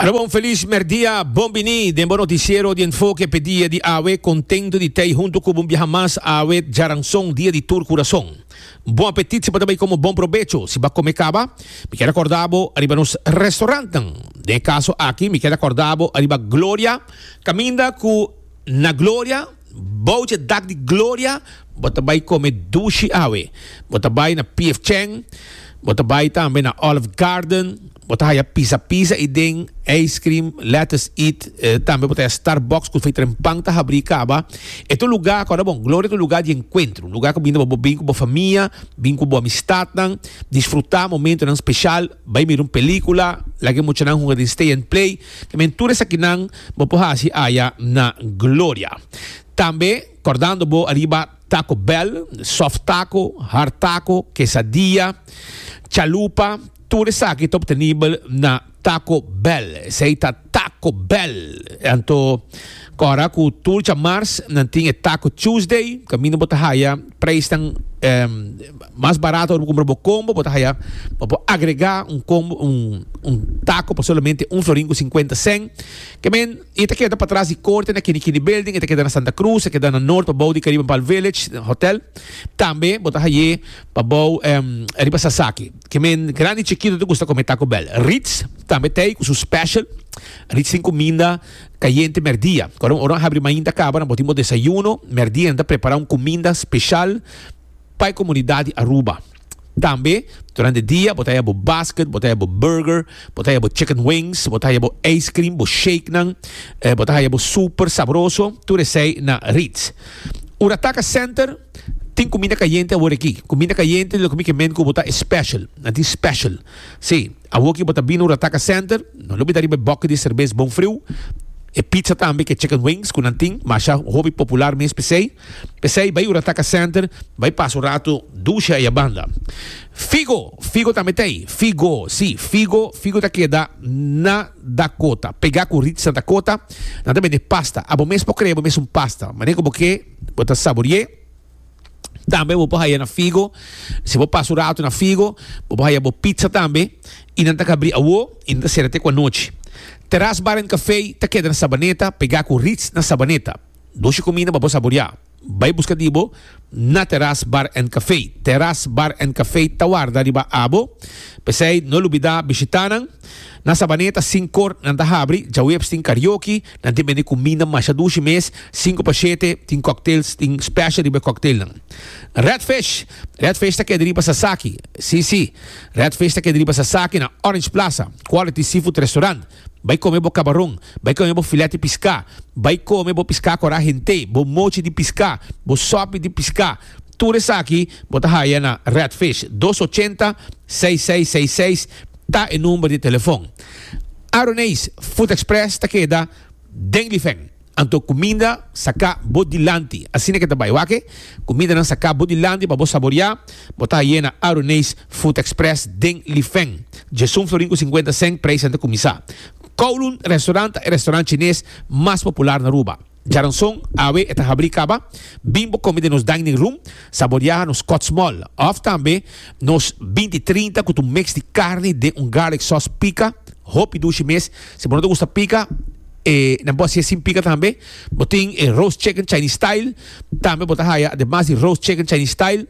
Alo bon felis merdia, bon bini den bo noticiero di Enfoke p'e dia di awe. Contento di tei hunto cu bo un biaha mas awe djaranson, dia di tur curason. Bon apetit si bo ta bay como bon probecho si bo a come caba. Mi kier a corda bo ariba nos restaurantnan. Den e caso aki mi kier a corda bo ariba Gloria, caminda cu na Gloria, Bou dje dak di gloria, bo ta bai kome dushi awe. Bo ta bai na PF Chang, bo ta bai tambe na Olive Garden, bo ta haya pizza pizza ei den, ice cream, Let Us Eat, tambe bo ta haya Starbucks ku fei trempan ta habrí kaba. E ta un lugá, kòrda bon, Gloria ta un lugá di enkuentro, un lugá ku binta pa bo bin ku bo famia, bin ku bo amistatnan, disfrutá momentonan speshal, bai mira un pelíkula, laga e muchanan hunga den stay and play. Tamen tur esakinan bo por hasi aya na Gloria. Tambe kordando bo ariba Taco Bell, soft taco, hard taco, quesadilla, chalupa, tur esaki ta obtenibel na Taco Bell. Esei ta Taco Bell. Anto kòrda ku tur djamars nan tin e Taco Tuesday, kaminda bo ta haya prijsnan mas barato ora bo kumpra bo kombo, bo ta haya bo por agrega un kombo un un taco pa solamente un florin ku sinkuenta sèn. Ke men e ta keda patras di korte na Kini Kini Building, e ta keda na Santa Cruz, e ta keda na Noord pabou di Caribbean Palm Village Hotel. Tambe bo ta haye pabou riba Sasaki. Ke men grandi i chikito ta gusta kome Taco Bell. Ritz tambe ta ei ku su special. Ritz tin kuminda kayente mèrdia. Ora ora habri mainta kaba nan bo tin bo desayuno, mèrdia nan ta prepara un kuminda speshal pa e komunidat di Aruba. Tambe durante dia bo ta haya bo basket, bo ta haya bo burger, bo ta haya bo chicken wings, bo ta haya bo ice cream, bo shakenan, bo ta haya bo super sabroso, tur esei na Ritz. Urataka Center tin kuminda kayente awor aki. Kuminda kayente loke mi ke men ku bo ta e special, nan tin special. Si, awor ki bo ta bini Urataka Center, no lo bida riba e boki di serbes bon friu, e pizza tambe ke chicken wings ku nan tin, masha hopi popular mes p'esei. P'esei bai Urataka Center, bai pasa un rato dushi aya banda. Figo, Figo tambe ta ei. Figo, si, Figo, Figo ta keda na Dakota, pegá ku Ritz na Dakota. Nan ta bende pasta. Abo mes por krea bo mes un pasta. Manera ku bo ke, bo ta sabori'é. Tambe bo por haya na Figo. Si bo pasa un rato na Figo, bo por haya bo pizza tambe. I nan ta kabri awo i nan ta sera te ku anochi. Terras Bar and Café ta keda na Sabaneta, pegá ku Ritz na Sabaneta. Dushi kuminda pa bo saboriá. Bai buska di bo na Terras Bar and Café. Terras Bar and Café ta warda riba abo. P'esei no lubidá bishitá nan. Na Sabaneta sinkor nan ta habri. Djaweps tin karaoke. Nan tin bende kuminda masha dushi mes. Sinku pa shete tin cocktails, tin special riba e cocktailnan. Red Fish. Red Fish ta keda riba Sasaki. Sí, sí. Red Fish ta keda riba Sasaki na Orange Plaza. Quality Seafood Restaurant. Bai kome bo kabaron, bai kome bo filet di piská, bai kome bo piská kòrá hent'é, bo mochi di piská, bo sòpi di piská. Tur esaki bo ta haya na Red Fish. Dos ochenta, seis seis seis seis ta e number di telefon. Aroneis Food Express ta keda den Lifen. Anto kuminda saká bo dilanti. Asina ke ta bai. Wak e kumindanan saká bo dilanti pa bo saboriá. Bo ta haye na Aruneis Food Express den Lifen. Djesun florin ku sinkuenta sèn preisnan ta kuminsá. Kowloon Restaurant ta e restaurant chines mas popular na Aruba. Djaranson awe e ta habrí kaba. Bin bo kome den nos dining room, saboriá nos kòt small òf tambe nos binti trinta ku ta un mix di karni den un garlic sauce pika. Hopi dushi mes. Si bo no ta gusta pika. E nan por hasié sin pika tambe. Bo tin e roast chicken Chinese style. Tambe bo ta haya ademas di roast chicken Chinese style,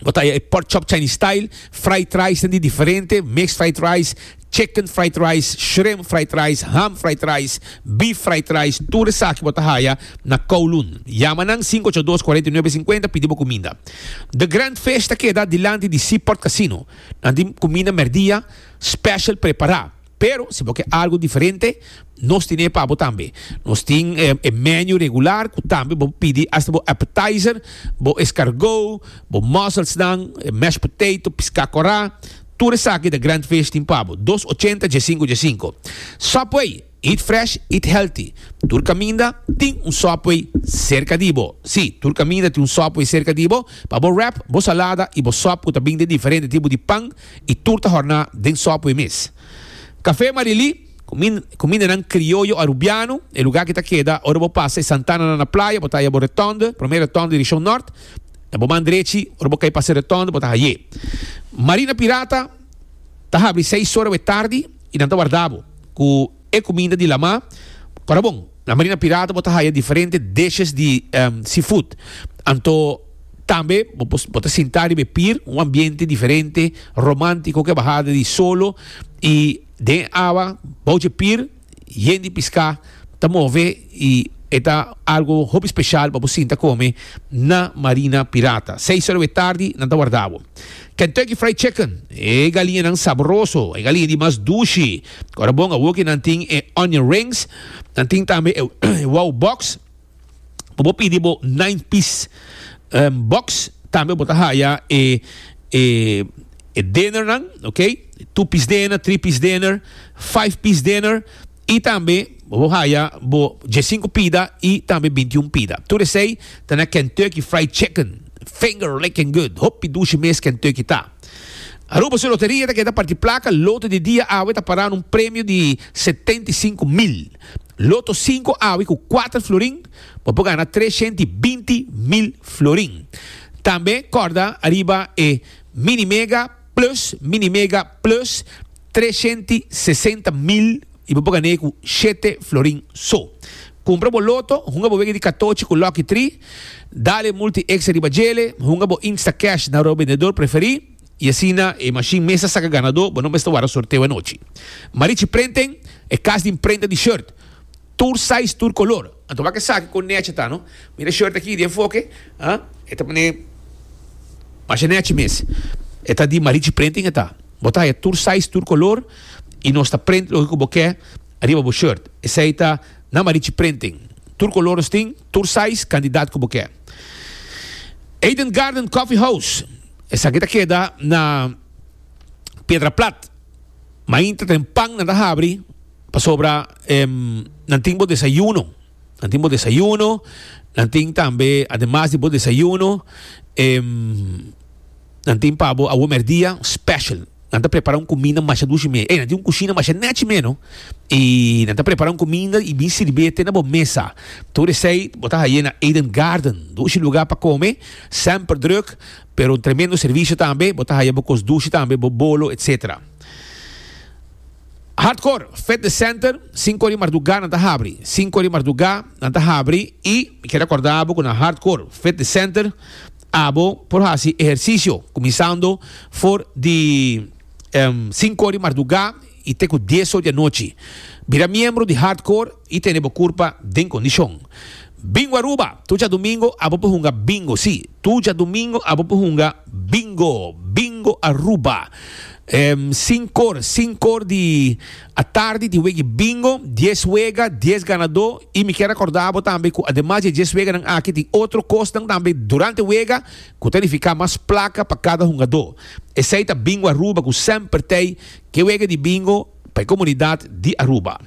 bo ta haya e pork chop Chinese style, fried rice nan di diferente, mixed fried rice, chicken fried rice, shrimp fried rice, ham fried rice, beef fried rice, tur esaki bo ta haya na Kowloon. Yama nan sinku ocho dos kuarenta i nuebe sinkuenta pidi bo kuminda. The Grand Fish ta keda dilanti di Seaport Casino. Nan tin kuminda merdia special prepara. Pero si bo ke algu diferente, nos tine pa bo tambe. Nos tin e menu regular ku tambe bo pidi hasta bo appetizer, bo escargot, bo musselsnan, e mashed potato, piská kòrá. Tur esaki The Grand Fish tin pa bo. Dos ochenta djesinku djesinku. Subway, eat fresh, eat healthy. Tur kaminda tin un Subway serka di bo. Sí, tur kaminda tin un Subway serka di bo pa bo wrap, bo salada i bo sòp ku ta bin den diferente tipo di pan. i tur ta horná den Subway mes. Café Marilí, kumindanan krioyo arubiano, e lugá ki ta keda ora bo pasa e Santananan na playa, bo ta haya bo retònde, promé retònde direkshon nòrt, na bo man drechi, ora bo kai pasa e retònde bo ta hay'é. Marina Pirata ta habri seis ora awe tardi i nan ta warda bo. ku e kuminda di lamá. Kòrda bon, na Marina Pirata bo ta haya diferente dishes di seafood. Anto tambe bo por bo ta sinta riba e pier, un ambiente diferente, romántiko ku e bahada di solo i den e awa bou dje pier yen di piská ta move i e ta algo hopi special pa bo sinta come na Marina Pirata. Seis ora di tardi nan ta warda bo. Kentucky Fried Chicken, e galiñanan sabroso, e galiña di mas dushi. Ora bon awoki nan tin e onion rings, nan tin tambe e wow box. Bo por pidi bo nine piece box, tambe bo ta haya e e e dinnernan, ok? Two piece dinner, three piece dinner, five piece dinner. I tambe bo por haya bo diesinku pida i tambe bintiun pida. Tur esei ta na Kentucky Fried Chicken. Finger licking good. Hopi dushi mes Kentucky ta. Aruba su loteria ta keda parti plaka. Loto di dia awe ta pará na un premio di 75,000. Loto sinku awe ku kuater florin bo por gana 320,000 florin. Tambe kòrda ariba e Mini Mega Plus, Mini Mega Plus, 360 mil y bo por gané cu shete florin so. Cumpra bo loto, hunga bo wega di catochi cu Lucky Tree, dale Multi Extra riba djele, hunga bo Instacash na ro bendedor preferi y asina e machine mes ta saca ganador, bo no mester warda sorteo anochi. Marichi Printing, e cas di imprenta di shirt. Tur size, tur color. Anto wak esaki con nechi ta no. Mira e shirt aki di enfoke, ah, e ta pone masha nechi mes. E ta di Marichi Printing e ta. Bo ta haya tur size, tur color y nos ta print loke cu bo ke riba bo shirt. Esey ta na Marichi Printing. Tur color nos tin, tur size, cantidad cu bo ke. Eden Garden Coffee House. Esaki ta keda na Piedra Plat. Mainta ten pan nan ta habri. Pasobra nan tin bo desayuno, nan tin bo desayuno, nan tin tambe ademas di bo desayuno nan tin pa bo awo merdia special. Nan ta prepara un kuminda masha dushi me. Ey, nan tin un kushina masha nechi me no. I nan ta prepara un kuminda i bin sirbié te na bo mesa. Tur esei bo ta haye na Eden Garden. Dushi lugar pa kome, semper druk, pero un tremendo servisio tambe. Bo ta haya bo kos dushi tambe, bo bolo, etcetera. Hardcore Fitness Center, sinku ora di mardugá nan ta habri. Sinku ora di mardugá nan ta habri i mi kier rekordá bo ku na Hardcore Fitness Center abo por hasi ehersisio kuminsando for di sinku ora di mardugá i te ku dies or di anochi. Bira miembro di Hardcore i tene bo kurpa den kondishon. Bingo Aruba, tur djadumingo abo por hunga bingo, sí, tur djadumingo abo por hunga bingo, Bingo Aruba. Sinkor, sinkor di atardi tin wega di bingo, dies wega, dies ganadó i mi kier rekordá bo tambe ku ademas di e dies weganan aki tin otro kosnan tambe durante wega ku ta nifiká mas plaka pa kada hungadó. Esei ta Bingo Aruba ku semper t'ei ke wega di bingo pa e komunidat di Aruba.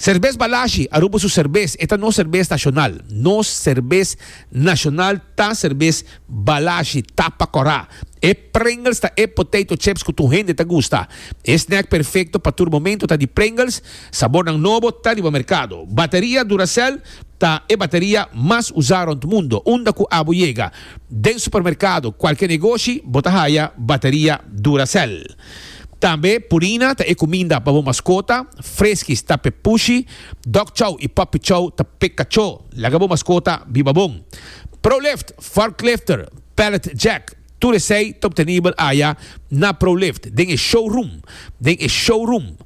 Serbes Balashi, Aruba su serbes, e ta nos serbes nashonal. Nos serbes nashonal ta serbes Balashi, tapa kòrá. E Pringles ta e potato chips ku tur hende ta gusta. E snack perfekto pa tur momento ta di Pringles, sabornan nobo ta riba merkado. Bateria Duracell ta e bateria mas usá rònt mundo. Unda ku abo yega, den supermerkado, kualke negoshi, bo ta haya bateria Duracell. Tambe Purina ta e kuminda pa bo maskota, Friskies ta p'e pushi, Dog Chow i Puppy Chow ta p'e kachó. Laga bo maskota biba bon. Prolift, Forklifter, Pallet Jack, tur esei ta obtenibel aya na Prolift den e showroom, den e showroom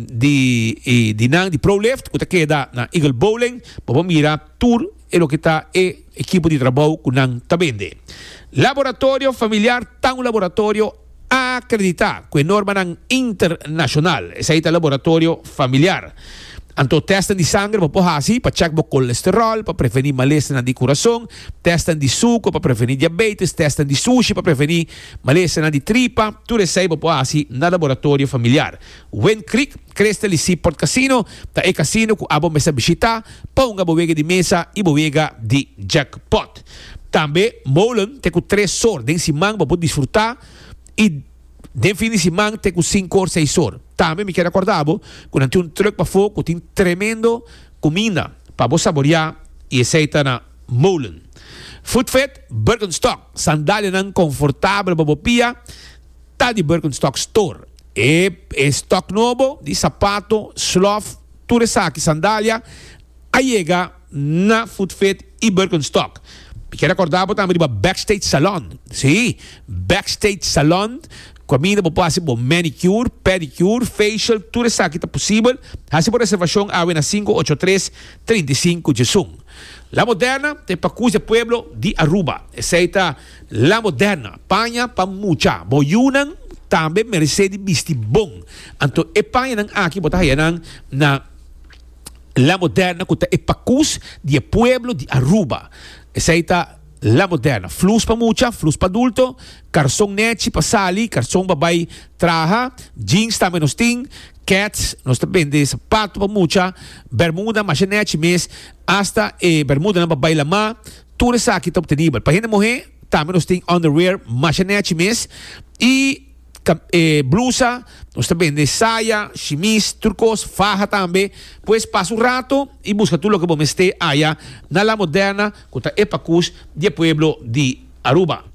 di di nan di Prolift ku ta keda na Eagle Bowling. Bo por mira tur e loke ta e ekipo di trabou ku nan ta bende. Laboratorio Familiar ta un laboratorio. Akreditá ku e normanan internashonal. Esei ta laboratorio familiar. Anto tèstnan di sanger bo por hasi pa chèk bo kolesteròl, pa prevení malesanan di kurason, tèstnan di suko pa prevení diabetes, tèstnan di sushi pa prevení malesanan di tripa. Tur esei bo por hasi na laboratorio familiar. Wind Creek, Crystal i Seaport Casino ta e kasino ku abo mester bishitá pa hunga bo wega di mesa i bo wega di jackpot. Tambe molen te ku tres sor den siman bo por disfrutá i den fin di siman te ku sinku or seis or. Tambe mi kier rekordá bo ku nan tin un trùk pafó ku tin tremendo kuminda pa bo saboriá i esei ta na Molen. Footfit, Birkenstock, sandalianan konfortabel pa bo pia ta di Birkenstock Store. E e stock nobo di sapato, slof, tur esaki, sandalia, a yega na Footfit y Birkenstock. Mi kier acorda bo tambe riba Backstage Salon. Sí, Backstage Salon, caminda bo por haci bo manicure, pedicure, facial, tur esaki ta posibel. Haci bo reservacion awe na 583 35 11. La Moderna ta e pacus di e pueblo di Aruba. Esey ta La Moderna, paña pa mucha. Bo yunan tambe meresé di bisti bon. Anto e pañanan aki bo ta haya nan na La Moderna ku ta e pakus di e pueblo di Aruba. Esei ta La Moderna. Flus pa mucha, flus pa adulto, karson nechi pa sali, karson pa bai traha, jeans tambe nos tin, kets, nos ta bende sapato pa mucha, bermuda masha nechi mes, asta e bermudanan pa bai lamá, tur esaki ta obtenibel. Pa hende muhé tambe nos tin underwear masha nechi mes i e blusa, nos ta bende saya, shimis, tur kos, faha tambe. Pues pasa un rato i buska tur loke bo mester aya na La Moderna ku ta e pakus di e pueblo di Aruba.